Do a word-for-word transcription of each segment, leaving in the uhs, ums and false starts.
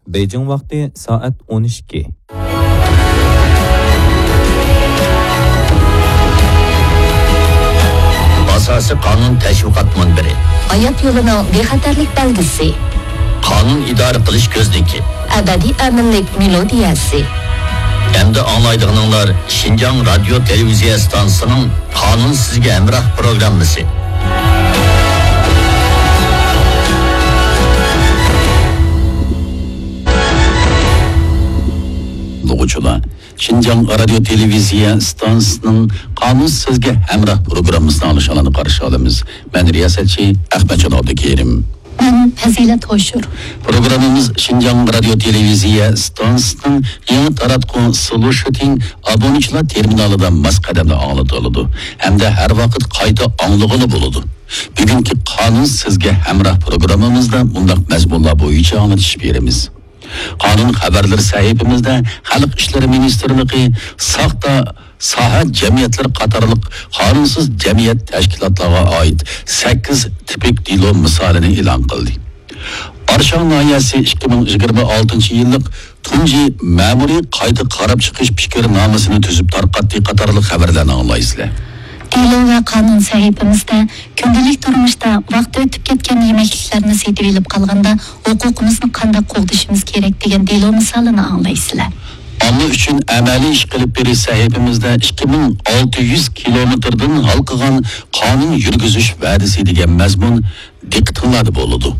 بېيجىڭ ۋاقتى سائەت ئون ئىككى. ئاساسىي قانۇن تەشۋىقات مۇنبىرى. ھايات يولىنىڭ بىخەتەرلىك بەلگىسى. قانۇن ئىدارە قىلىش كۆزنىكى. ئەبەدىي ئەمىنلىك مېلودىيەسى. ئەمدى ئاڭلايدىغىنىڭلار شىنجاڭ رادىيو تېلېۋىزىيە ئىستانسىسىنىڭ قانۇن سىزگە ھەمراھ پروگراممىسى. ئاڭلىغۇچىلار، شىنجاڭ رادىيو تېلېۋىزىيە ئىستانسىسىنىڭ قانۇن سىزگە ھەمراھ پروگراممىسىنى ئاڭلىشىڭلارنى قارشى ئالىمىز. مەن رىياسەتچى ئەخمەتجان ئابدۇكېرىم. مەن پەزىلەت ھوشۇر. پروگراممىمىز شىنجاڭ رادىيو تېلېۋىزىيە ئىستانسىسىنىڭ يېڭى تاراتقۇ سلۇشىتىڭ ئابۇنىچىلار تېرمىنالىدا ماس قەدەمدە ئاڭلىتىلىدۇ ھەمدە ھەر ۋاقىت قايتا ئاڭلىغىلى بولىدۇ. بۈگۈنكى قانۇن سىزگە ھەمراھ پروگراممىمىزدا مۇنداق مەزمۇنلار بويىچە ئاڭلىتىش بېرىمىز. قانۇن خەۋەرلىرى سەھىپىمىزدە خەلق ئىشلىرى مىنىستىرلىقى، ساختا ساھە جەمئىيەتلىرى قاتارلىق قانۇنسىز جەمئىيەت تەشكىلاتلارغا ئائىت سەككىز تىپىك دېلو مىسالىنى ئېلان قىلدى. ئارشاڭ ناھىيەسى ئىككى مىڭ يىگىرمە ئالتىنچى يىللىق تۇنجى مەمۇرىي قايتا قاراپ چىقىش پىكىرنامىسىنى تۈزۈپ تارقاتتى قاتارلىق خەۋەرلەرنى ئاڭلايسىلەر. دېلو ۋە قانۇن سەھىپىمىزدە كۈندىلىك تۇرمۇشتا ۋاقتى ئۆتۈپ كەتكەن يېمەكلىكلەرنى سېتىۋېلىپ قالغاندا ھوقۇقىمىزنى قانداق قوغدىشىمىز كېرەك دېگەن دېلو مىسالىنى ئاڭلايسىلەر. ئامما ئۈچۈن ئەمەلىي ئىش قىلىپ بېرىش سەھىپىمىزدە ئىككى مىڭ ئالتە يۈز كىلومېتىردىن ھالقىغان قانۇن يۈرگۈزۈش ۋەدىسى دېگەن مەزمۇن دىققىتىڭلاردا بولىدۇ.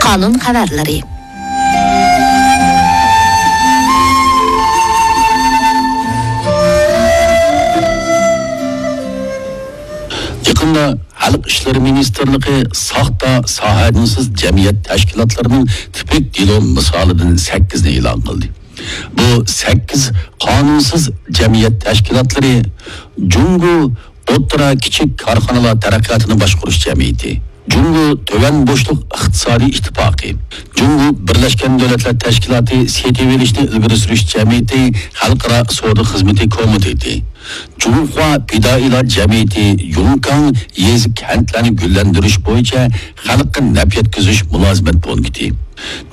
قانۇن خەۋەرلىرى. يېقىندا خەلق ئىشلىرى مىنىستىرلىقى ساختا ساھەدىنسىز جەمئىيەت تەشكىلاتلىرىنىڭ تىپىك دېلو مىسالىدىن سەككىزنى ئېلان قىلدى. بۇ سەككىز قانۇنسىز جەمئىيەت تەشكىلاتلىرى جۇڭگو ئوتتۇرا، كىچىك كارخانىلار تەرەققىياتىنى باشقۇرۇش جەمئىيىتى، جۇڭگو تۆۋەن بوشلۇق ئىقتىسادىي ئىتتىپاقى، جۇڭگو بىرلەشكەن دۆلەتلەر تەشكىلاتى سېتىۋېلىشنى ئىلگىرى سۈرۈش جەمئىيىتى خەلقئارا سودا خىزمىتى كومىتېتى، جۇڭخۇا پىدائىيلار جەمئىيىتى يۇڭكاڭ يېزا كەنتلەرنى گۈللەندۈرۈش بويىچە خەلققە نەپ يەتكۈزۈش مۇلازىمەت پونكىتى،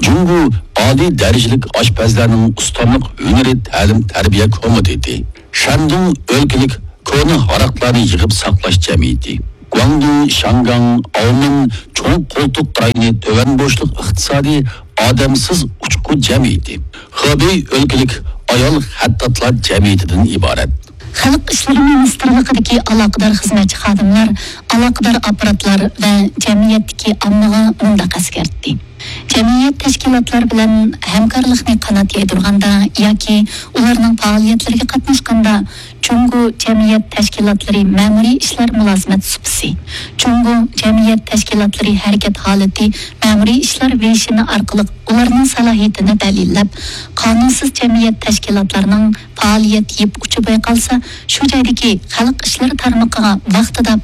جۇڭگو ئالىي دەرىجىلىك ئاشپەزلەرنىڭ ئۇستاملىق ھۈنىرى تەلىم تەربىيە كومىتېتى، شەندۇڭ ئۆلكىلىك كونا ھاراقلارنى يىغىپ ساقلاش جەمئىيىتى، گۇاڭدۇڭ شياڭگاڭ ئاۋمېن چوڭ قولتۇق رايونى تۆۋەن بوشلۇق ئىقتىسادىي ئادەمسىز ئۇچقۇ جەمئىيىتى، خېبېي ئۆلكىلىك ئايال خەتتاتلار جەمئىيىتىدىن ئىبارەت. خەلق ئىشلىرى مىنىستىرلىقىدىكى ئالاقىدار خىزمەتچى خادىملار ئالاقىدار ئاپپاراتلار ۋە جەمئىيەتتىكى ئاممىغا مۇنداق ئەسكەرتتى. جەمئىيەت تەشكىلاتلار بىلەن ھەمكارلىقنى قانات يايدۇرغاندا ياكى ئۇلارنىڭ پائالىيەتلىرىگە قاتناشقاندا، جۇڭگو جەمئىيەت تەشكىلاتلىرى مەمۇرىي ئىشلار مۇلازىمەت سۇپىسى، جۇڭگو جەمئىيەت تەشكىلاتلىرى ھەرىكەت ھالىتى مەمۇرىي ئىشلار ۋېيشىنى ئارقىلىق ئۇلارنىڭ سالاھىيىتىنى دەلىللەپ، قانۇنسىز جەمئىيەت تەشكىلاتلىرىنىڭ پائالىيەت يىپ ئۇچى بايقالسا، شۇ جايدىكى خەلق ئىشلىرى تارمىقىغا ۋاقتىدا